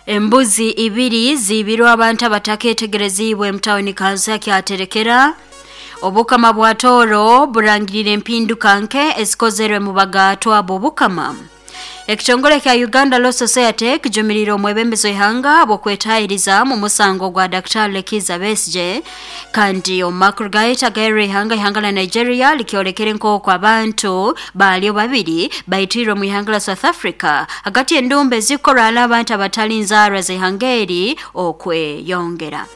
Embuzi ibiri ziibirwe abantu abataketegereziibwe mu tawuni kanso ya Kyaterekera. Obukama bwa Tooro burangirire empinduka nke ezikozerwe mu bagatwa b'obukama. Ekitongole kya Uganda Law Society kijumirire omwebembezi w'ihanga bw'okwetahiriza mu musango gwa Dr. Kizza Besigye. Kandi omu makuru gaita gairwe ihanga la Nigeria likyolekere nk'oku abantu baalyo babiri baitirwe mu ihanga la South Africa hagati y'endumba ezikorana abantu abatali nzaarwa z'ihanga eri okweyongera.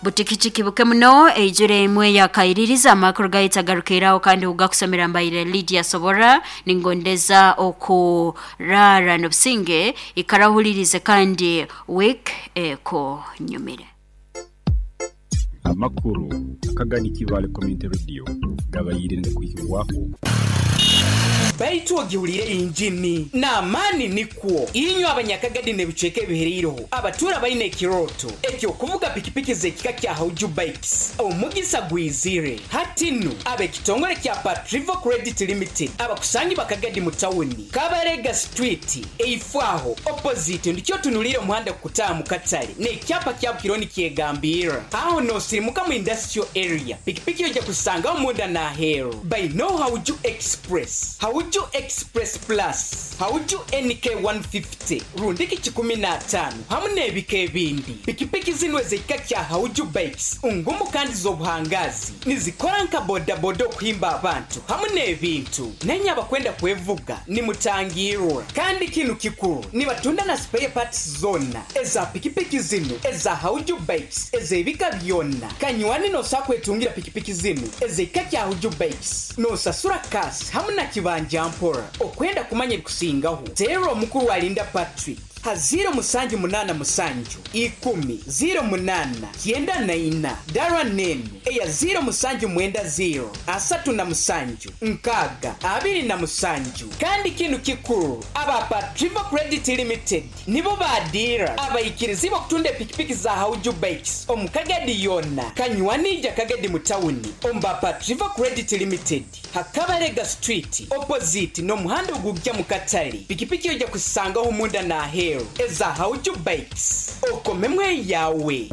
Butikitiki buke muno eijure emwe yakaiririza. Amakuru gaita garukiraho kandi ugakusomera mbaire Lydia Sobora. Ningondeza okurara n'obusinge, ikarahulirize kandi week eko nyumire. Amakuru Akagadi Kibale Community Radio gabayire ngakwihibwaho. Baitu ogiwulire injini n'amaani nikwo inywe abanyakagadi n'ebicweka ebihereireho abatura baine ekiroto ekyokuvuga pikipiki z'ekika kya Hauju Bikes, omugisa gwizire hati nu. Ab'ekitongole kya Patrivo Credit Limited abakusangi bakagadi mu tawuni Kabarega Street, eifwaho opposite ndikyo tunulire omuhanda kukutaaha mu katale n'ekyapa kya Bukironi kyegambirra aho nosirimuka mu industrial area. Pikipiki ojja kusangaho munda n'aheeru baino Hauju Express, Hauju Express Plus, Hauju NK 150 rundiki 15 hamu n'ebika ebindi. Pikipiki zino ez'ekika kya Hauju Bikes ngumu kandi z'obuhangazi, nizikora nka bodaboda okuhimba abantu hamu n'ebintu. Nenye abakwenda kwevuga nimutangirwa. Kandi kinu kikuru, nibatunda na spare parts zonna eza pikipiki zino eza Hauju Bikes ez'ebika byonna. Kanywani nosa kwetungira pikipiki zino ez'ekika kya Hauju Bikes, nosasura kasi hamu na kibanja mpora. Okwenda kumanya ebikusingaho, teera omukuru alinda Patrick ha 0787 10 08 94, dara nenu eya 0790 37 6 27. Kandi kinu kikuru, aba Patrivo Credit Limited nibo badira abaikirizi okutunda epikipiki za Hauju Bikes omu Kagadi yonna. Kanywanija Kagadi mu tawuni omba Patrivo Credit Limited Hakabarega Street opposite n'omuhanda ogujja mu katale. Pikipiki ojja kusangaho munda n'aheeru eza Hauju Bikes, okomemu eyawe.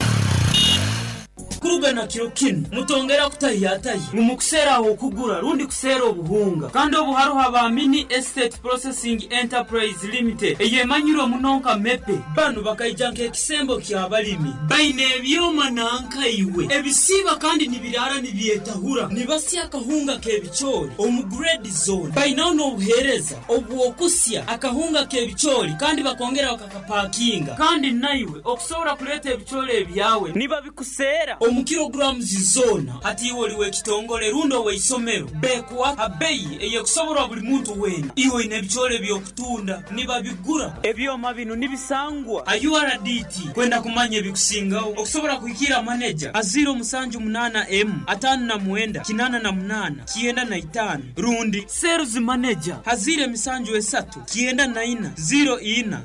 Kurugana kiro kinu mutongera kutahiyatahi ngu mukuseeraho okugura rundi kuseera obuhunga. Kandi obu haruho aba Mini Estate Processing Enterprise Limited eyemanyirwe muno nka Mepe. Banu bakaija nk'ekisembo ky'abalimi, baine ebyoma nankaiwe ebisiiba kandi nibiraara nibyetahura, nibasya akahunga k'ebicoori omu grade zone. Bainaho n'obuheereza obw'okusya akahunga k'ebicoori kandi bakongera bakakapakinga. Kandi naiwe okusobora kuleeta ebicoori ebyawe nibabikuseera omu kilograms zona. Hati iwe oli w'ekitongole rundi ow'eisomero, bekuwa ha beyi eyekusoborwa buli muntu weena. Iwe oine ebicoori eby'okutunda, nibabigura. Ebyoma binu nibisangwa ha URDT. Kwenda kumanya ebikusingaho okusobora kuhikira maneja ha 078 M 59 88 95 rundi sales manager ha 073 94 04 10.